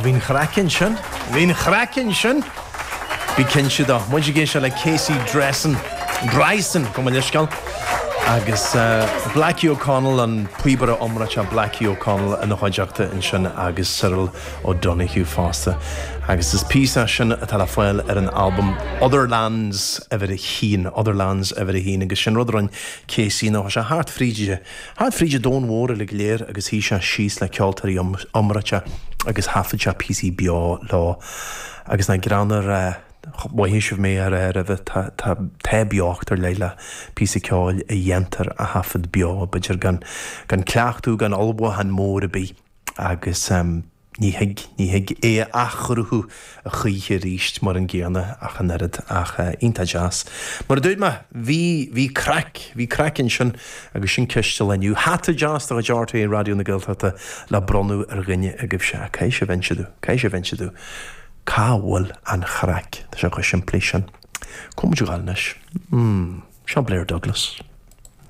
Bhí an chraic ansin. Bhí an chraic ansin! Bí cinnte de. Muid ag éisteacht le Casey Drayson, Drayson, gabh mo leithscéal, agus Blackie O'Connell, an píobaire iomráiteach Blackie O'Connell ina chuideachta ansin agus Cyril O'Donoghue fosta. Agus is píosa é sin atá le fáil ar an albam Other Lands uimhir a haon, Other Lands uimhir a haon, agus sin rud a rinne Casey ná chuaigh sé thart fríd Thart fríd an domhan mhór uilig go léir agus shuigh sé síos le ceoltóirí iomráiteacha agus thaifead sé píosaí beo leo. Agus nach greannmhar a rá, mhothaigh sibh mé á rá roimhe, tá, tá, tá beocht ar leith le píosa ceoil a dhéantar a thaifead beo, b'fhéidir gan, gan cleachtadh, gan ullmhúchán mór ar bith agus. Ní thig, ní thig é a athchruthú a choíche arís mar an gcéanna ach an oiread, ach iontach deas. Mar a dúirt mé, bhí, bhí craic, bhí craic ansin agus sin ceist an lae inniu. Hata deas de chuid RTÉ Raidió na Gaeltachta le bronnadh ar dhuine agaibhse. Caithfidh sibh inse domh, caithfidh sibh inse domh cá bhfuil an chraic? Tá sé chomh simplí sin. Cá bhfuil muid ag dul anois? Hmm, seo Blair Douglas.